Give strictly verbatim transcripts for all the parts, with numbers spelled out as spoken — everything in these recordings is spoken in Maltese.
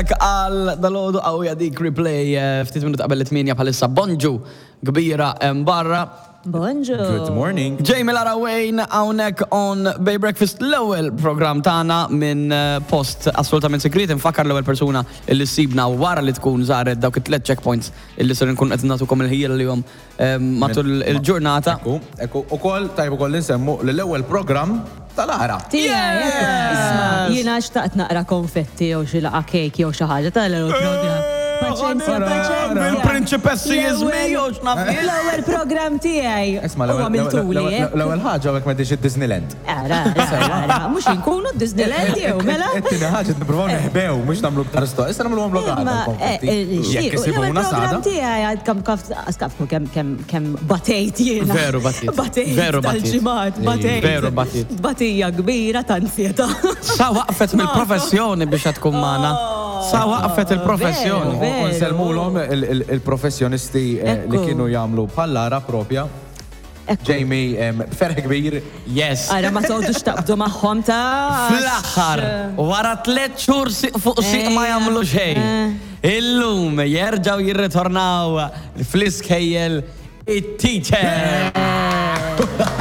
Għal dalgħodu qawwija dik Replay, eh, ftit minut qabel it-tmienja bħalissa. Bonġu kbira hemm barra. Bonġu. Good morning. Jamie, Lara, Wayne hawnhekk on Bay Breakfast, l-ewwel programm tagħna minn eh, post assolutament segret. Infakkar, l-ewwel persuna illi sibna wara li tkun żaret dawk it-tliet checkpoints illi ser nkun qed nagħtukom il-ħila li jom eh, matul il-ġurnata. Ekku, ekku, u koll, tajb ukoll nsemmu li l-ewwel programm tal-Lara. Tiegħi, isma', jiena xtaqt naqra konfetti jew xi laqa cake jew xi ħaġa tal-ewwel programm. Paċenzja, paċenzja. Il-prinċipessi jizmi jew x'naf jien. L-ewwel programm tiegħi. Isma', U għamiltuli, eh? l-ewwel ħaġa, għek m'intix id-Disneyland. Ara, ara, ara, mhux inkunu Disneyland jew mela. It-tieni ħaġa, nippruvaw neħbew, mhux nagħmlu ktar sto. Issa nagħmlu għamlu Imma, għada eh, konfetti. eh, Jekk l-ewwel isibuna programm sada. tiegħi għad kam kaf askafku kemm kemm kemm batejt jiena. Veru batit. Batejt Veru batit. tal-ġimgħat, batejt. Veru batit. Batija kbira ta' ansjetà. Sa waqfet mill-professjoni biex tkun magħna. Sa waqfet il-professjoni. Veru, U nsellmulhom il- il- il-professjonisti eh, li Ekku. kienu jagħmlu bħal Lara propja. Ekku. Jamie, em, b'ferħ kbir. Yes. Ara ma toqgħodux taqbdu magħhom ta' Fl-aħħar, wara tliet xhur siq fuq siq ma jagħmlu xejn. Illum jerġgħu jirritornaw fl-iskejjel it-teacher.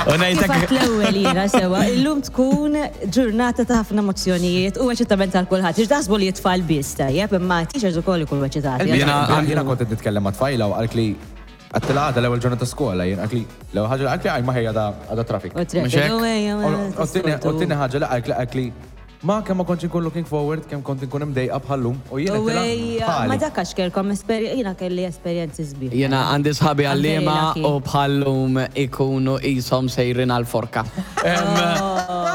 U ngħidlek Kif l-ewwel jiena sewa, illum tkun ġurnata ta' ħafna emozzjonijiet u eċitament għal kulħadd. Ix taħsbu li t-tfal biss tajjeb, imma teachers ukoll ikunu eċitati. Jiena- Jiena kont qed nitkellem ma' tfajla u qaltli, għedtilha għada l-ewwel ġurnata skola, jien qaltli l-ewwel ħaġa li qaltli, għaj ma ħejja għada traffic. U Mhux hekk? traffic, u ejja, ma U t-tieni ħaġa li qaltli qaltli ma kemm ma kontx inkun looking forward, kemm kont inkun imdejqa bħallum. U jiena U għedtilha, ejja, ma bħali. dak għax kellkom esperjenza, jiena kelli esperjenzi sbieħ. Jena għandi sħabi għallima lucky. u bħallum ikunu jisom sejrin għal-forka.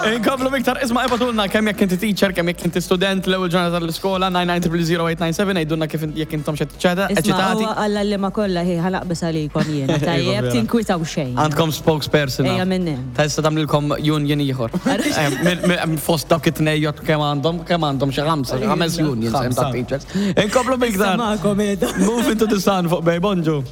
Inkomplu iktar, isma', ibagħtulna kemm jekk inti teacher, kemm jekk inti student, l-ewwel ġurnata tal-iskola, nine nine zero zero eight nine seven, għidulna kif jekk intom Isma', eċitati. huwa għall-għalliema kollha hi ħalaqbis għalikom jiena, tajjeb, vera. tinkwitaw xejn. Għandkom spokesperson. Ejja minn hemm. Ta' issa tagħmlilkom union ieħor. Em, min- min- Fost dawk it-tnejn kemm għandhom, kemm għandhom xi ħamsa, xi ħames unions hemm ta' Ħamsa. teachers. Inkomplu iktar. Magħkom qiegħda. Move into the Sun fuq Bay. Bonġu.